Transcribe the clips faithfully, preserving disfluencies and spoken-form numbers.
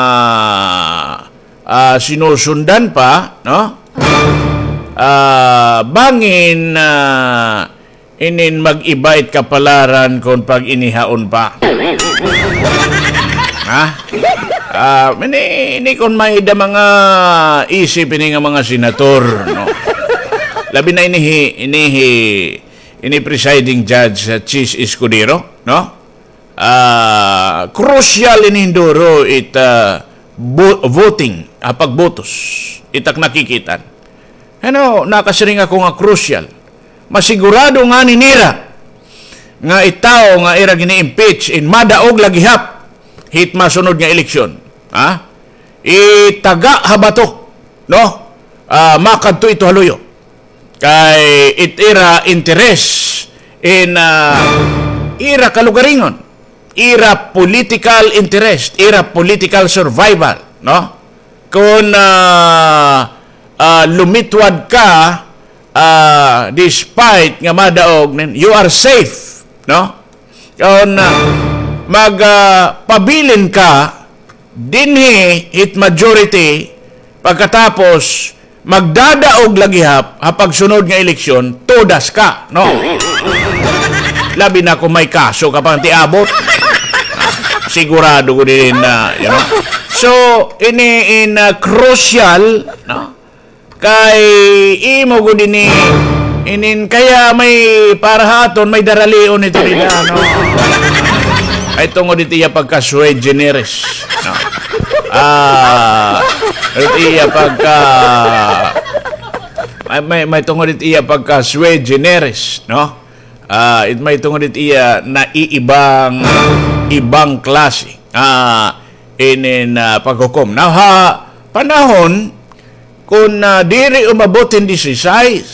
ah, ah, sinusundan pa, no? Ah, bangin, ah, inin mag-iba it kapalaran kon pag-inihaon pa. Ha? Ah, ini, ini kon may-ada mga isip ini nga mga senator, no? Labi na ini hi, ini hi, ini presiding judge, ah, Chiz Escudero, no? Ah, crucial ini hin duro it, ah, vo-, voting, ah, pagbotos. It ak nakikita. Ano, nakasiring ako nga crucial. Masigurado ngani nira nga it tawo nga ira gini-impeach in madaog la gihap hit masunod nga eleksyon. Ha? Itaga ha bato, no? Ah, makadto ito ha luyo. Kay it ira interest in, ah, ira kalugaringon, ira political interest, ira political survival, no? Kon, ah, ah, lumitwad ka, ah, despite nga madaog, nin, you are safe, no? Kon, ah, mag, ah, pabilin ka, dinhi hit majority, pagkatapos magdadaog la gihap ha pagsunod nga eleksyon, todas ka, no? Labi na kon may kaso ka pa nga tiabot. Sigurado ko din na, you know. So, ini in, ah, crucial, no? Kay imo gud ini, inin kaya may para ha aton, may daralion ito nila, no? Ay tungod ito iya pagka sui generis, no? Ah, ito iya pagka, may, may, may tungod ito iya pagka sui generis, no? Ah, it may tungod ito iya naiibang, ibang klase. Ah, inin, ah, paghukom. Now, ha panahon kon, ah, diri umabot hin disisais,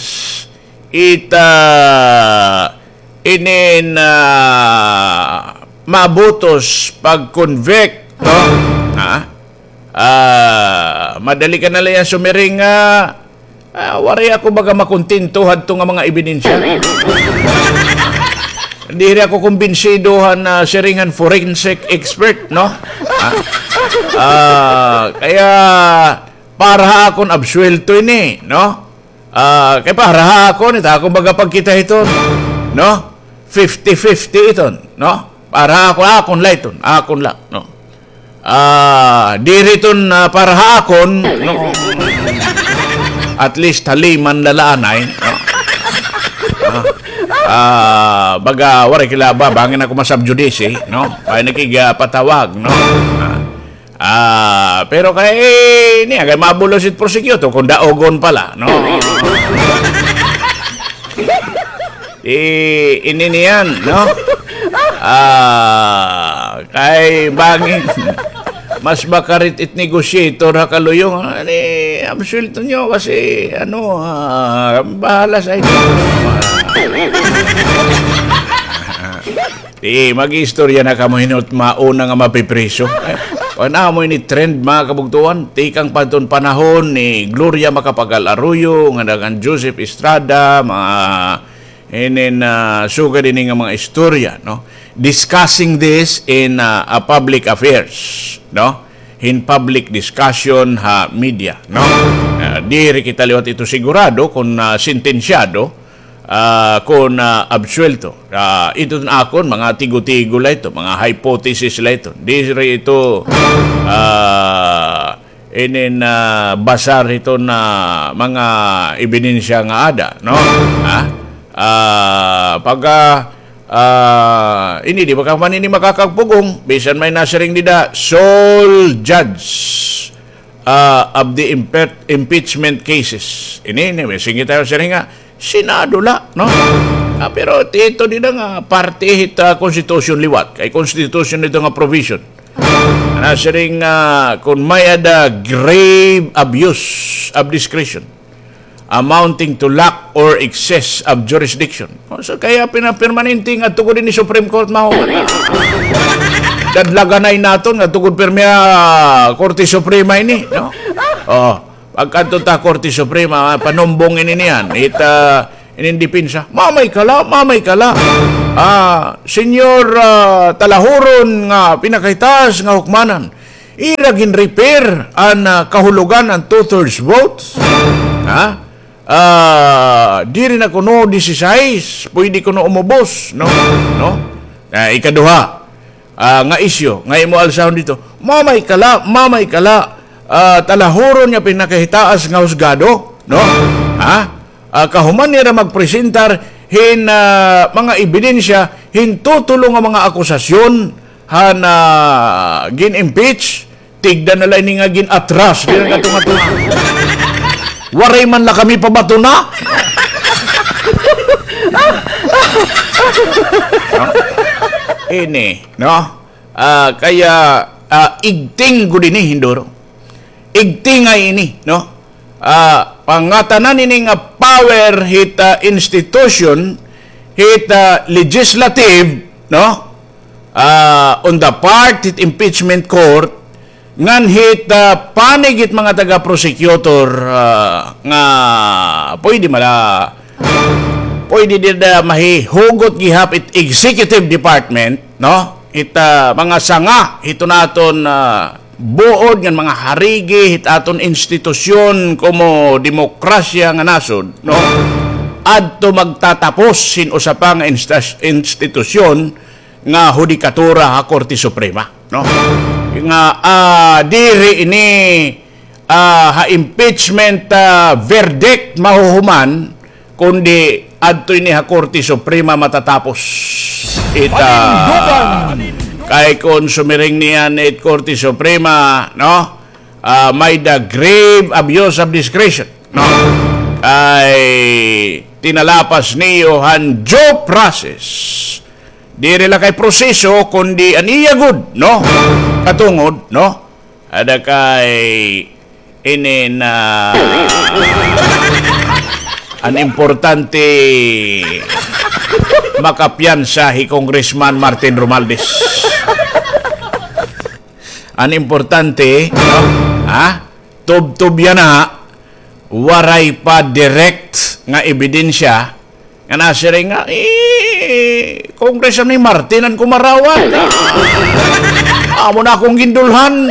it, ah, inin, ah, mabutos pag-convict, no? Ha? Ah, madali ka na la yan sumiring nga, ah, waray ako baga makontento hadto nga mga ebidensya. Diri ako kumbinsido han, ah, siring han forensic expert, no? Ha? Ah, kaya para ha akon absuwelto ini, no? Ah, kay para ha akon, ita akon baga pagkita hiton, no? Fifty fifty iton, no? Para ha akon, akon la iton, akon la, no? Ah, diri iton, ah, para ha akon, no? At least haliman la la anay, no? Ah, ah, baga, waray kila ba, bangin ako ma-sub judice, no? Ay nakigapatawag, no? Ah, Ah, pero kay, eh, niya, kay mabulos it prosecutor kon daogon pa la, no? Eh, ini niyan, no? Ah, kay bangin, mas makarit it negotiator ha kaluyo. Ani, absuwelto niyo kasi, ano, ah, bahala sa inyo. Di, mag-iistorya na kamo hin mauna nga mapipriso. Eh, kuan amo ini trend, mga kabugtuan. Tikang pa hiton panahon ni Gloria Macapagal Arroyo, nga ngan Joseph Estrada, mga inin, ah, sugad ini nga mga istorya, no? Discussing this in, ah, a public affairs, no? Hin public discussion ha media, no? Ah, diri kita liwat ito sigurado kon, ah, sentensyado, ah, kon, ah, absuwelto. Ah, ito akon mga tigo-tigo la ito, mga hypothesis la ito. Diri ito, ah, inin, ah, basar ito na mga ebidensya nga ada, no? Ha? Ah, pagka, ah, ini di ba ka man ini makakagpugong, bisan may nasiring dida, sole judge ah, of the impe-, impeachment cases. Ini, ini, may singgit tayo siring nga, Senado la, no? Ah, pero ito di na nga parte hit, ah, Constitution liwat. Kay Constitution ito nga provision. Nasiring, ah, kon may-ada grave abuse of discretion amounting to lack or excess of jurisdiction. O, so, kaya pinapermanente nga tugod ini Supreme Court, mahuman. Dadlaganay naton nga tugod pirmi, ah, Korte Suprema ini, no? O, pagkadto ta Korte Suprema, ah, panumbong ini niyan. It, ah, inin depensa. Mamay ka la, mamay ka la. Ah, Senyor, ah, talahuron nga pinakahitaas nga hukmanan. Ira gin-repair an, ah, kahulogan an two-thirds votes. Ha? Ah, diri na kuno disisais, pwede kuno umubos, no? No? Ah, ikaduha, ah, nga isyu, nga imo alsahon dito. Mamay kala, mamay kala, ah, talahuron nga pinakahitaas nga husgado, no? Ha? Ah, kahuman nira magpresentar hin, ah, mga ebidensya, hin tutulo nga mga akusasyon, han, ah, gin-impeach, tigda na la ini nga gin-atras, diri nga tunga-tunga. Waray man la kami pabato na. No? Ini, no? Ah, kaya, ah, igting gud ini, hinduro. Igtingay ini, no? Ah, pangatanan ini nga power hit, ah, institution, hit, ah, legislative, no? Ah, on the part hit impeachment court, ngan hit, ah, panig hit mga taga-prosecutor, ah, nga pwede mala, pwede dida mahihugot gihap it executive department, no? It, ah, mga sanga hito naton, ah, buod ngan mga harigi hit aton institusyon komo demokrasya nga nasod, no? Adto magtatapos hin usa pa nga instas-, institusyon nga hudikatura ha Korte Suprema, no? Nga, ah, diri ini, ah, ha impeachment, ah, verdict mahuhuman, kundi adto ini ha Korte Suprema matatapos. It, ah, kay kon sumiring niyan it Korte Suprema, no? Ah, may-ada grave abuse of discretion, no? Kay tinalapas niyo han due process. Diri la kay proseso, kundi an iya gud, no? Katungod, no? Ada kay ini na an importante makapiyansa hi Congressman Martin Romualdez. An importante, no? Ha? Tubtob yana, waray pa direct nga ebidensya nga nasiring nga, eh, Congressman Martin an kumarawat. Amo na akong gindulhan.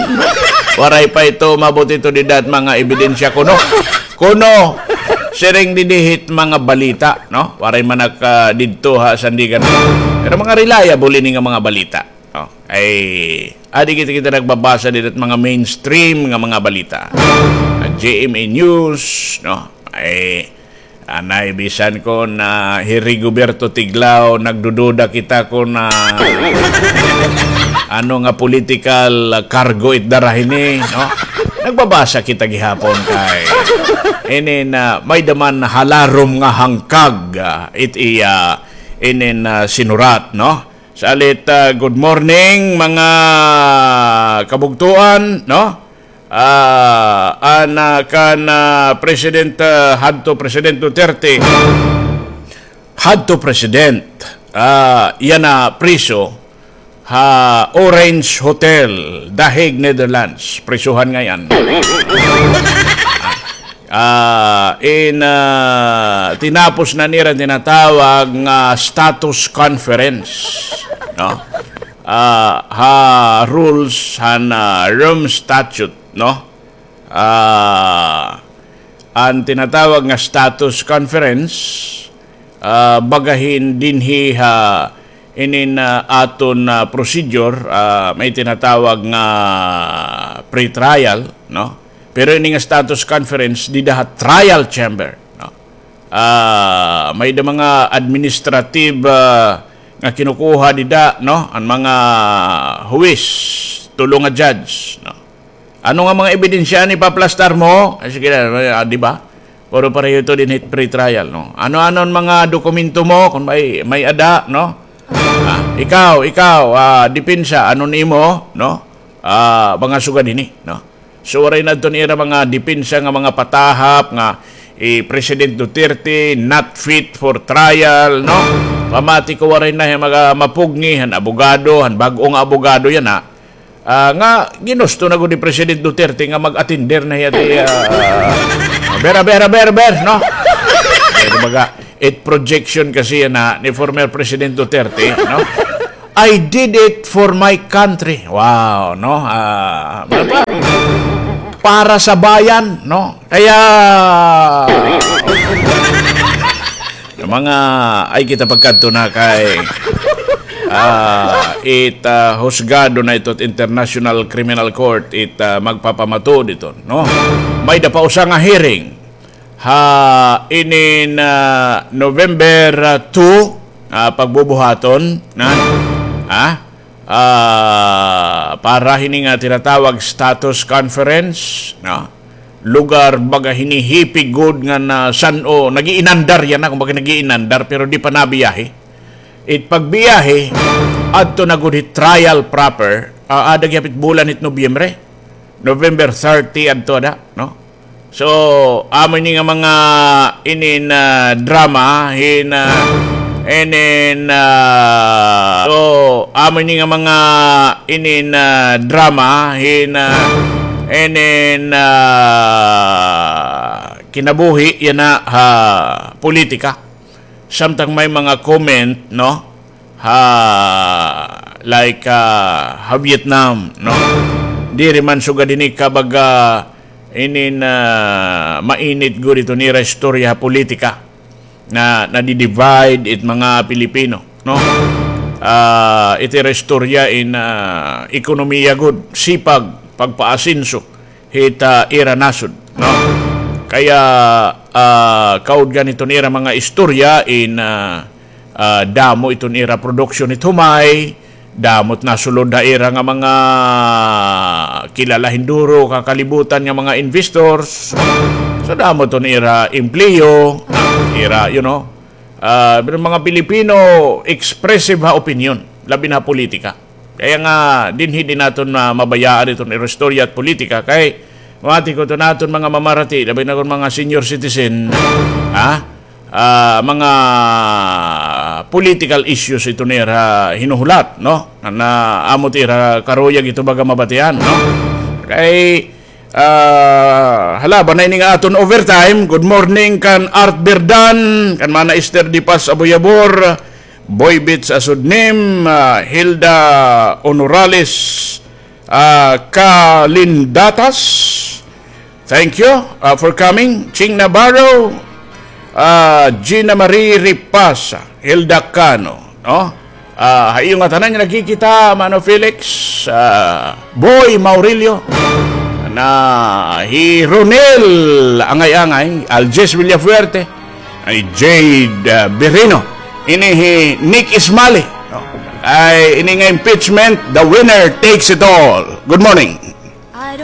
Waray pa ito, maabot ito dida hit mga ebidensya kuno. Kuno, siring didi hit mga balita, no? Waray man ak, ah, didto ha Sandigan. Pero mga reliable ini nga mga balita. Oh, ay, adi kita, kita nagbabasa dida hit mga mainstream nga mga balita. Ang G M A News, no? Ay, anay, bisan kon hi Rigoberto Tiglao, nagdududa kita kon ano nga political cargo it dara hini, no? Nagbabasa kita gihapon kay ini na may-ada man halarom nga hangkag, ah, it iya, ini na sinurat, no? Salit, ah, good morning, mga kabugtoan, no? Ah, an, ah, kan, ah, President, ah, hadto President Duterte, hadto President, ah, yana priso ha Orange Hotel, The Hague, Netherlands. Prisuhan ngay-an. Ah, in, ah, tinapos na nira tinatawag nga status conference, no? Ah, ha rules han, ah, Rome Statute, no? Ah, an tinatawag nga status conference, ah, baga hin dinhi ha inin, ah, aton, ah, procedure, ah, may tinatawag nga pre-trial, no? Pero ini nga status conference, dida ha trial chamber, no? Ah, may-ada mga administrative, ah, nga kinukuha dida, no? An mga huwis, tulo nga judge, no? Ano nga mga ebidensya an ipaplastar mo? Ay, sige na, ah, di ba? Puro pareho ito dinhi hit pre-trial, no? Ano-ano an mga dokumento mo, kon may, may-ada, no? Ah, ikaw, ikaw, ah, depensa, ano nimo, no? Ah, mga sugad hini, no? So, waray na adto nira mga depensa nga mga patahap nga, eh, President Duterte not fit for trial, no? Pamati ko waray na hiya maga-, mapugngi han abogado, han bag-o nga abogado yana, ah, nga ginusto na gud ni President Duterte nga mag-attender na hiya ti, ah, ber, ber, ber, ber, no? Kay kumbaga, it projection kasi yana ni former President Duterte, no? I did it for my country. Wow, no? Ah, ano pa? Para sa bayan, no? Kaya, mga, ay kita pagkadto na kay, ah, it, ah, husgado na ito it International Criminal Court, it, ah, magpapamatuod ito, no? May-ada pa usa nga hearing ha inin, ah, November, ah, two, ah, pagbubuhaton na, ha? Ah, para hini nga tinatawag status conference, no? Lugar baga hini hipi gud nga na san-o, nag-iinandar yana, kumbaga nag-iinandar, pero di pa nabiyahe. It pagbiyahe, adto na gud hit trial proper, ah, aada gihap it bulan hit Nobyembre. November thirty adto ada, no? So, amo ini nga mga inin, ah, drama hin, ah, inin, ah, so, amo ini nga mga inin, ah, drama hin, ah, inin, ah, kinabuhi yana ha politika. Samtang may mga comment, no? Ha, like, ah, ha Vietnam, no? Diri man sugad hini kabaga inin, ah, mainit gud iton ira istorya ha politika na nadi-divide it mga Pilipino, no? Ah, it ira istorya in, ah, ekonomiya gud, sipag, pagpaasenso hit, ah, ira nasod, no? Kaya, ah, kaudgan iton ira mga istorya in, ah, ah, damo iton ira production hit humay, damo it nasulod ha ira nga mga kilala hin duro ha kalibutan nga mga investors. So, damo iton ira empleyo, ira, you know, ah, pero mga Pilipino expressive ha opinion, labi na ha politika. Kaya nga, dinhi di naton ma-, mabayaan iton ira istorya hit politika. Kay, mati ko iton aton mga mamarati, labi na kon mga senior citizen, ha? Ah, mga political issues iton ira hinuhulat, no? Na amo it ira karuyag ito baga mabatian, no? Kay, ah, hala, bana ini nga aton overtime. Good morning kan Art Berdan, kan Mana Esther Dipas Aboyabor, Boy Beats Asudnim, ah, Hilda Honorales, ah, Kalindatas. Thank you, ah, for coming. Ching Navarro, ah, Gina Marie Ripasa, Hilda Cano, no? Ah, ha iyo ngatanan nga nakikita, Mano Felix, ah, Boy Maurilio, na hi Ronel Angay-Angay, Alges Villafuerte, ay Jade, ah, Birino. Ini hi Nick Ismali, no? Ay, ini nga impeachment, the winner takes it all. Good morning.